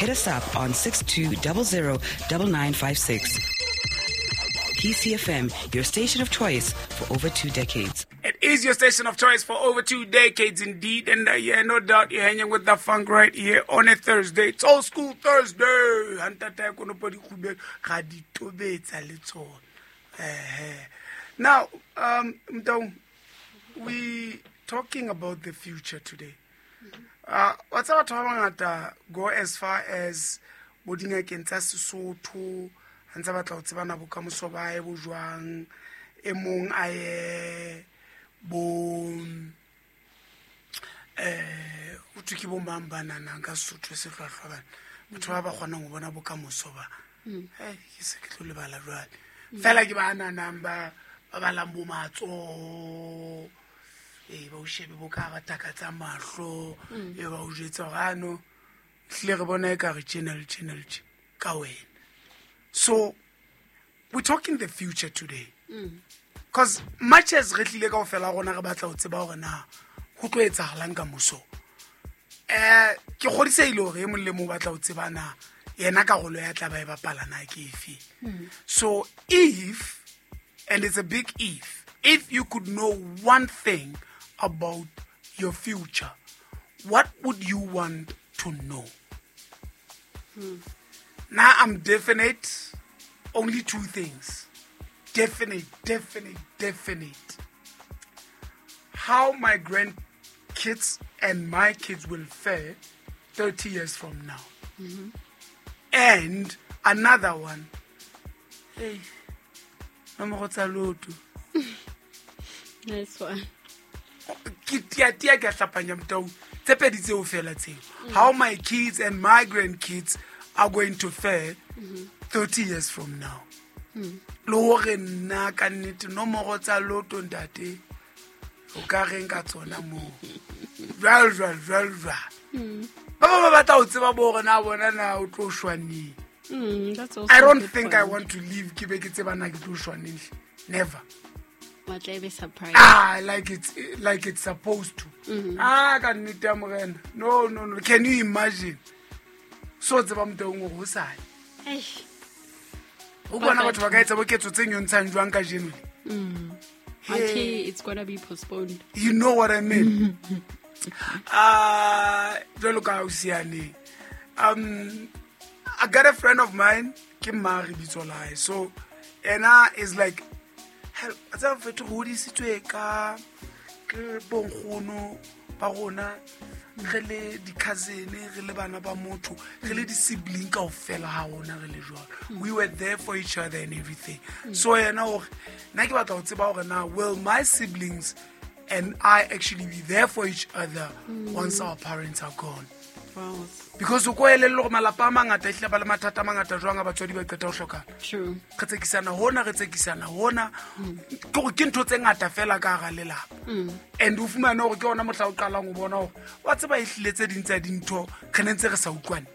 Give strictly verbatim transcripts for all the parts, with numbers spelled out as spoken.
Hit us up on six two zero zero nine nine five six. P C F M, your station of choice for over two decades. It is your station of choice for over two decades indeed. And uh, yeah, no doubt you're hanging with the funk right here on a Thursday. It's Old School Thursday. Now, um, we talking about the future today. Uh, what's our talking go as far as bo dingakeng tsa Sesotho, a ntse batla ho tsebana bokamoso ba hae bo jwang, e mong a ye bo eh o thwe ke bo mang ba nanang ka Sesotho se hlwahlwa bana, batho ba ba kgonang ho bona bokamoso ba. Hey, ke se ke tlo lebala jwale. Fela ke ba nanang ba ba balang bo matsoho, eh ba o shebe bo ka ba taka tsa mahlo, e ba o jwetsa hore ano hlile re bona e ka re channel channel ka wena. So we're talking the future today. Because much as re tlile kaofela rona re batla ho tseba hore na ho tlo etsahalang ka moso, eh ke kgodisehile hore e mong le mong o batla ho tseba na yena karolo ya tla ba e bapala na ke efe. So if, and it's a big if, if you could know one thing about your future, what would you want to know? Hmm. Now I'm definite, only two things. Definite, definite, definite. How my grandkids and my kids will fare thirty years from now. Mm-hmm. And another one. Hey, nomoro tsa lotto. Nice one. Ke tia tia ke hlapanya motau. Tse pedi tseo fela tseo. How my kids and my grandkids are going to fare mm-hmm. thirty years from now. Mm. Le hore nna ka nnete nomoro tsa lotto ntate o ka reng ka tsona moo. Jwalo jwalo jwalo jwalo. Mm. Ba ba ba batla ho tseba bo hore na bona na o tlo shwa neng. Mm, that's also I don't a good think point. I want to leave ke be ke tseba na ke tlo shwa neng. Never. Wa tla be surprised. Ah, like it's, like it's supposed to. Mm-hmm. Ah, ka nnete ya morena. No, no, no. Can you imagine? So tseba motho o go sale. Eish. O bona batho ba ka etsa boketso tse nyontshang jwang kajeno le? Mm. Hey. Okay, it's gonna be postponed. You know what I mean? Ah, jwalo ka ausiane. Um, I got a friend of mine, ke Mari bitso la hae. So, ena is like, hell, tsa fetho hodisitswe ka ke bonkgono ba rona, re le di-cousin, re le bana ba motho, re le di-sibling kaofela ha rona re le jwalo. We were there for each other and everything. So yena o re, nna ke batla ho tseba hore na will my siblings and I actually be there for each other mm. once our parents are gone? Wow. Because o ko elellwe hore malapa a mangata ehlile ba le mathata a mangata jwang a batswadi ba qeta ho hlokana. True. Re tsekisana hona, re tsekisana hona. Ke hore ke ntho tse ngata fela ka hara lelapa. Mm. And o fumane hore ke hona mohla o qalang ho bona hore wa tseba ehlile tse ding tsa dintho re ne ntse re sa utlwane.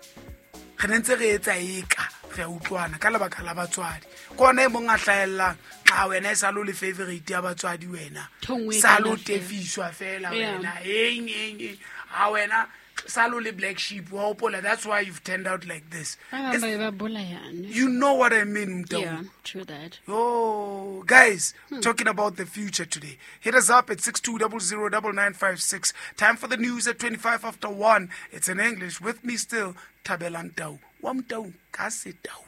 Re ne ntse re etsa eka re a utlwana ka lebaka la batswadi. Ke hona e mong a hlahellang, ha wena e sa le o le favorite ya batswadi wena. Thongwe Sa kana lo fela. tefiswa fela Yeah. wena. Eng, eng, eng. Ha wena sa lo le black sheep, wa hopola, that's why you've turned out like this. Ba bang It's ba ba bolayane. You know what I mean, Mtau? Yeah, true that. Oh, guys, Hmm. talking about the future today. Hit us up at six two zero zero nine nine five six. Time for the news at twenty-five after one. It's in English. With me still, Thabelang Tau. Wa Motau, ka se tau.